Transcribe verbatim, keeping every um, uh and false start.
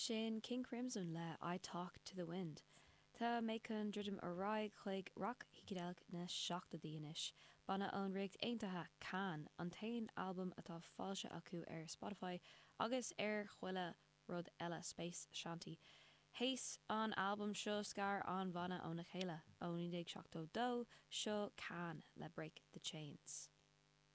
Sin King Crimson le I Talk to the Wind. Tá mé chun druidim ar aghaidh chuig rac shícideileach na seachtóidí anois. Banna ón Ríocht Aontaithe Can an t-aon albam atá foilsithe acu ar Spotify agus ar chuile rud eile Space Shanty. Théis an albam seo scar an banna óna chéile ó naoi déag seachtó dó seo Can le Break the Chains.